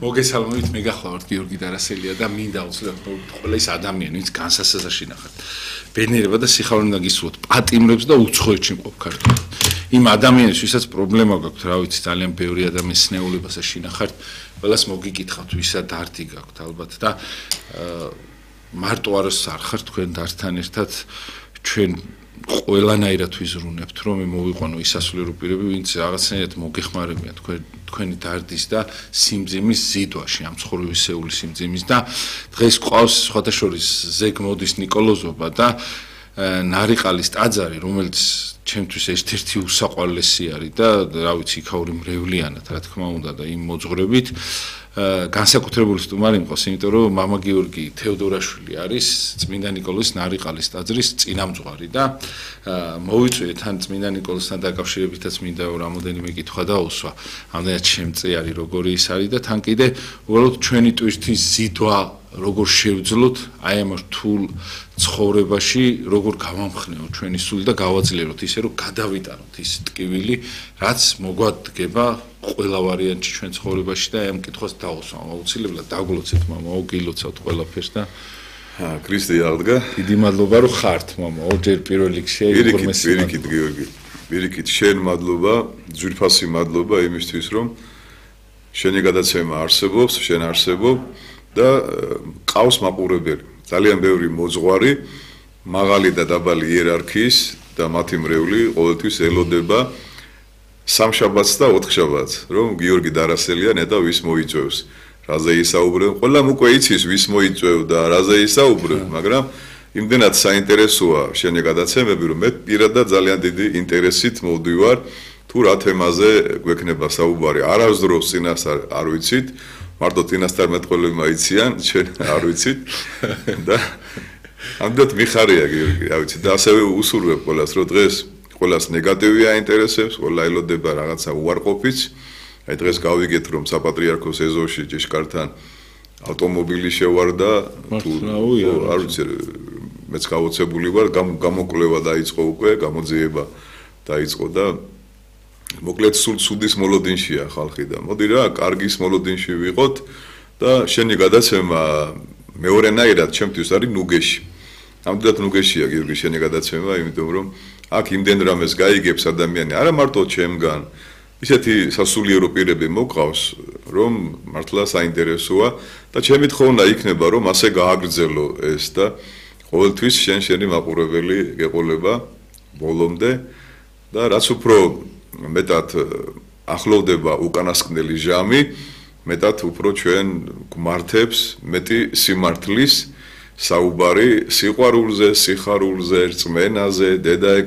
მოგესალმებით, მე გახლავართ გიორგი დარასელია და მინდა უცლებად ყველა ის ადამიანი, ვინც განსასაზღვრში ნახат. ბედნიერება და სიხარული უნდა გისურვოთ, პატიმრებს და უცხოეთში მყოფ ქართველებს. იმ ადამიანებს, ვისაც პრობლემა გაქვთ, რა ვიცი, ძალიან ბევრი ადამიანის სნეულებასა შინახართ, ყველას მოგიკითხავთ, ვისა დარდი გაქვთ ალბათ და მარტო არას არ ხართ თქვენ დართან ერთად ჩვენ ყველანაირად ვიზრუნებთ, რომ მოვიყვანო ის სასულიერო პირები, ვინც რაღაცნაირად მოგეხმარებიან თქვენი დარდის და სიმძიმის ზიდვაში, ამ ცხოვრებისეული სიმძიმის და დღეს ყავს სხვადასხვა ზეგ მოდის ნიკოლოზობა და ნარიყალის ტაძარი, რომელიც ჩემთვის ერთ-ერთი უსაყვარლესი არის და რა ვიცი, იქაური მრევლიანად, რა თქმა უნდა და იმ მოძღვრებით განსაკუთრებული სტუმარი მყავს, იმიტომ რომ მამა გიორგი თეოდორაშვილი არის წმინდა ნიკოლოზის ნარიყალის ტაძრის წინამძღვარი და მოვიწვიეთ თან წმინდა ნიკოლოზთან დაკავშირებითაც მინდა რამოდენიმე კითხვა დაუსვა. ამდენად შემწეარი როგორი ის არის და თან კიდე უბრალოდ ჩვენი ტვირთის ზიდვა როგორ შევძლოთ აი ამ რთულ ცხოვრებაში, როგორ გავამხნევოთ ჩვენი სული და გავაძლიეროთ ისე რომ გადავიტანოთ ის ტკივილი, რაც მოგვადგება ყველა ვარიანტში ჩვენ ცხოვრებაში და აი ამ კითხვას დავუსვა. აუცილებლად დაგლოცეთ მამა, გილოცავთ ყველაფერს და ქრისტე აღდგა. დიდი მადლობა რომ ხართ მამა, ორჯერ პირველ რიგში პირიქით გიორგი. პირიქით შენ მადლობა, ძვირფასი მადლობა იმისთვის რომ შენი გადაცემა არსებობს, შენ არსებობ და ყავს მაყურებელი. ძალიან ბევრი მოძღვარი, მაღალი და დაბალი იერარქიის და მათი მრევლი ყოველთვის ელოდება სამშაბათს და ოთხშაბათს, რომ გიორგი დარასელია ნეტა ვის მოიწვევს. რაზე ისაუბრებ, ყველამ უკვე იცის ვის მოიწვევ და რაზე ისაუბრებ, მაგრამ იმდენად საინტერესოა შენი გადაცემები, რომ მე პირადად ძალიან დიდი ინტერესით მოვდივარ თუ რა თემაზე გვექნება საუბარი. არასდროს წინასწარ არ ვიცით. მარტო წინასწარ მეტყველებმა იციან, ჩვენ არ ვიცით და ამდენად მიხარია გიორგი, რა ვიცი და ასევე უსურვებ ყველას, რომ დღეს ყველას ნეგატივი აინტერესებს, ყველა ელოდება რაღაცა უარყოფით. აი დღეს გავიგეთ, რომ საპატრიარქოს ეზოში ჭიშკართან ავტომობილი შევარდა, თუ არ ვიცი, მეც გავოცებული ვარ, გამოკვლევა დაიწყო უკვე, გამოძიება დაიწყო და მოკლედ სულ ცუდის მოლოდინშია ხალხი და მოდი რა, კარგის მოლოდინში ვიყოთ და შენი გადაცემა მეორენაირად ჩემთვის არის ნუგეში. ამდენად ნუგეშია გიორგი შენი გადაცემა, იმიტომ რომ აქ იმდენ რამეს გაიგებს ადამიანი, არა მარტო ჩემგან, ისეთი სასულიერო პირები მოგყავს, რომ მართლა საინტერესოა და ჩემი თხოვნა იქნება, რომ ასე გააგრძელო ეს და ყოველთვის შენი მაყურებელი გეყოლება ბოლომდე და რაც უფრო მეტად ახლოვდება უკანასკნელი ჟამი, მეტად უფრო ჩვენ გვმართებს მეტი სიმართლის საუბარი სიყვარულზე, სიხარულზე, რწმენაზე, დედა